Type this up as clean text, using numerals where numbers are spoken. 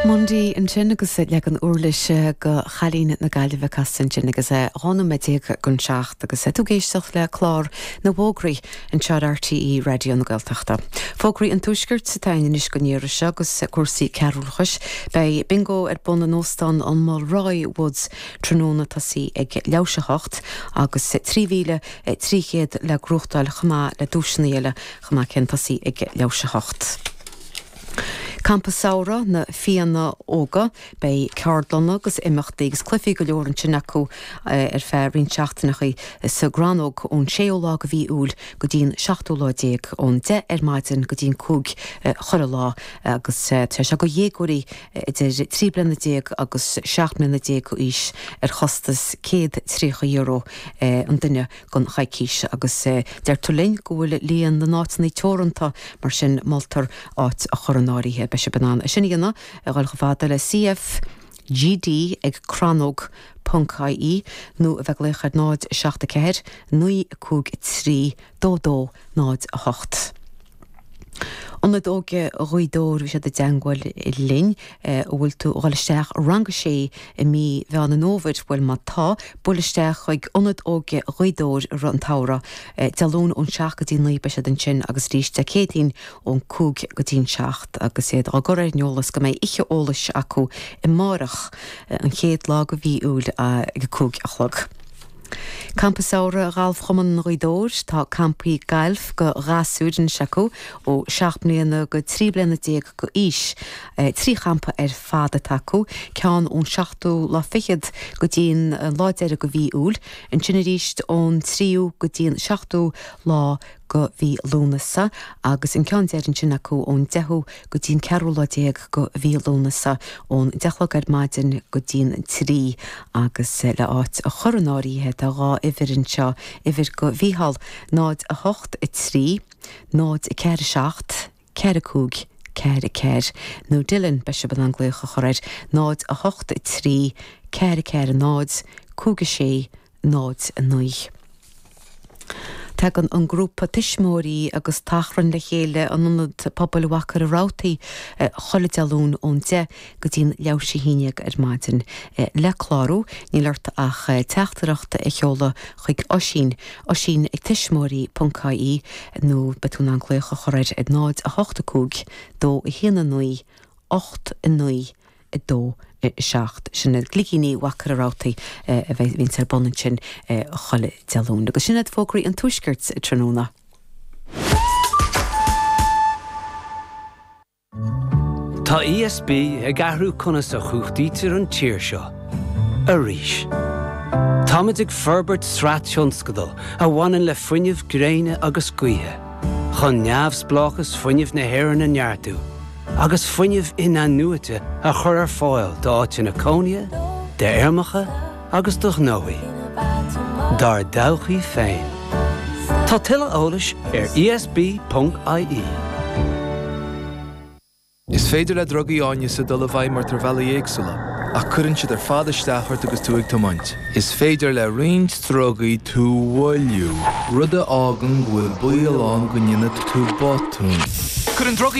Mundy ansin agus leagan uirlise go Chailín na Gaillimhe casta ansin agus é 12 nóiméad don seacht agus tú ag éisteacht le clár na bhfógraí anseo ar RTÉ Raidió na Gaeltachta. Fógraí an Tuaiscirt atá againn anois don iarraidh seo agus cúrsaí cearúlachais. Beidh Bingo ar bun in Óstán an Mulroy Woods tráthnóna tosaí ag leathuair théis 8 agus 3,300 le gnóthachtáil chomh maith le duaiseanna eile chomh maith céanna tosaí ag leathuair théis 8. Campa Samhraidh na Fianna Óga. Beidh ceardlanna agus imeachtaí agus cluichí go leor ansin acu ar feadh roinnt seachtaineachaí sa gCrannóg ón séú lá go mhí Iúil go dtí an seachtú lá déag, ón 10 ar maidin go dtí an 5 chuile lá agus tá sé seo go dhéagóirí idir 13 bliana agus 17 mbliana d'aois ar chostas €130 an duine. don choicís agus deirtear linn go bhfuil líon na n-áiteanna teoranta, mar sin moltar áit a chur in áirithe. Beidh sibh in ann é sin a dhéanamh a dhul chomh fada le CFGD ag crannóg ponc ie nó a bheith ag glaoch ar 0 7 4 9 5 3 2 2 0 8. Ionad Óige Ghaoth Dobhair, bhí siad i dteangmháil linn. An bhfuil tú ag dhul isteach i rang a sé i mí Mheán an Fhómhair? Bhuel má tá, buail isteach chuig Ionad Óige Ghaoth Dobhair i rith an tsamhraidh. Dé Luain ón 7 go dtí 9 beidh siad ansin agus arís Dé Céadaoin ón 5 go dtí an 7 agus iad á gcur ar an eolas go mbeidh oíche eolais acu amárach, an chéad lá go mhí Iúil ag a 5 a chlog. Campa Samhraidh Ghalfchumann Ghaoth Dobhair, Tá campaí gailf go ghasúir anois acu ó 7 mbliana go 13 bliana go aois. 3 champa ar fad atá acu, ceann ón seachtú lá fichead go dtí an lá deiridh go mhí Iúil, ansin arís ón tríú go dtí an seachtú lá go mhí Lúnasa agus an ceann deiridh ansin acu ón deichiú go dtí an ceathrú lá déag go mhí Lúnasa, ón deich a chlog ar maidin go dtí an trí agus le áit a chur in áirithe tá dhá uimhir anseo, uimhir go Mhícheál, 0 8 3 0 4 7 4 5 4 4 nó Dylan, beidh sibh in ann glaoch a chur air, 0 8 3 4 4 0 5 6 0 9. Tagann an grúpa tuismitheoirí agus tachrann le chéile in Ionad Pobail Mhachaire Rabhartaigh chuile Dé Luain ón 10 go dtí an leathuair théis a haon déag ar maidin. Le clárú, níl ort ach teachtaireacht a sheoladh chuig Oisín, oisín ag tuismitheoirí ponc ie nó beidh tú in ann glaoch a chur air ar 0 8 5 2 1 9 8 9 2, 7. Sin iad Cloigíní Mhachaire Rabhartaigh a bhíonns ar bun ansin chuile Dé Luain. Agus sin iad fógraí an Tuaiscirt tráthnóna. Tá ESB ag athrú conas a chumhachtaítear an tír seo. Arís. Táimid ag forbairt sraith tionscadal a bhaineann le fuinneamh gréine agus gaoithe, chun neamhspleáchas fuinnimh na hÉireann a neartú. agus fuinneamh in-athnuaite a chur ar fáil d'áiteanna cónaithe, d'fheirmeacha agus do ghnóthaí. Dár dtodhchaí féin. Tá tuilleadh eolais ar esb.ie. Is féidir le drugaí áineasa dul i bhfeidhm ort ar bhealaí éagsúla, ach cuireann siad ar fad isteach ort agus tú ag tiomáint. Is féidir le roinnt drugaí tú a mhoilliú, rud a fhágann go bhfuil baol ann go ndéanfaidh tú botún. Cuireann drugaí.